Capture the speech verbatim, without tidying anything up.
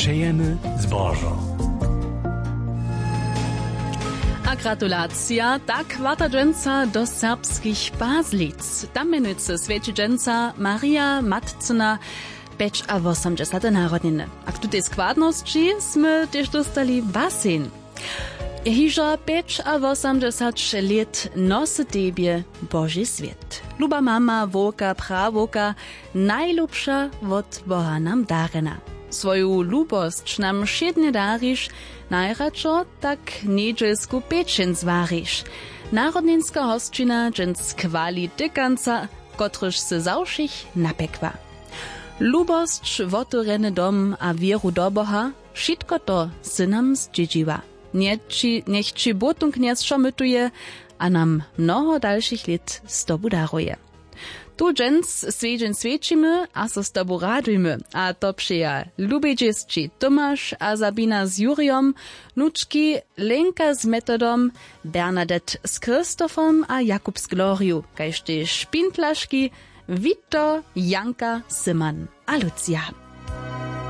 Přejemy zbožo. A gratulacija, tak warta dźensa do serbskich Pazlic. Tam mjenujcy swjeći dźensa Marija Matcyna pjećawosomdźesate narodniny. A k tutej składnosći smy tež dóstali basen. Hižo pjećawosomdźesać lět nosy tebje Boži swět. Luba mama, wowka, prawowka, najlubša wot Boha nam darjena. Swoju lubosć nam wšědnje dariš, najradšo tak njedźelsku pečeń zwariš. Narodninska hosćina dźens chwali tykanca, kotryž sy za wšěch napjekła. Lubosć, wotewrjeny dom a wěru do Boha, wšitko to sy nam zdźědźiła. Njeći, njech ći Bótung knjez wšo mytuje a nam mnoho dalšich lět z tobu daruje. Tu dźens swjedźeń swjećimy a so z tobu radujmy, a to přeja lubej dźěsći Tomaš a Sabina z Jurijom, wnučki Lenka z Metodom, Bernadette z Christophom a Jakub z Gloriju, kaž tež špintlaški Wito, Janka, Syman a Lucija.